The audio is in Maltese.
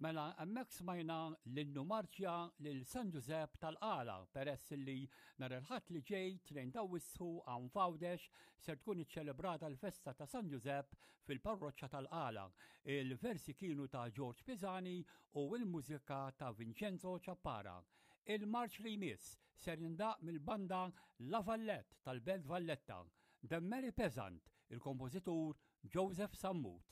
Mela hemmhekk smajna l-innu marċja lil San Ġużepp tal-Qala peress li nhar il-Ħadd li ġej 2 t'Awwissu hawn f'Għawdex ser tkun iċċelebrata l-festa ta' San Ġużepp fil-parroċċa tal-Qala. Il-versi kienu ta' George Pisani u l-mużika ta' Vincenzo Ciappara. Il-marċ li jmiss ser jindaqq mill-banda La Vallette tal-Belt Valletta. The Merry Peasant, il-kompożitur Joseph Sammut.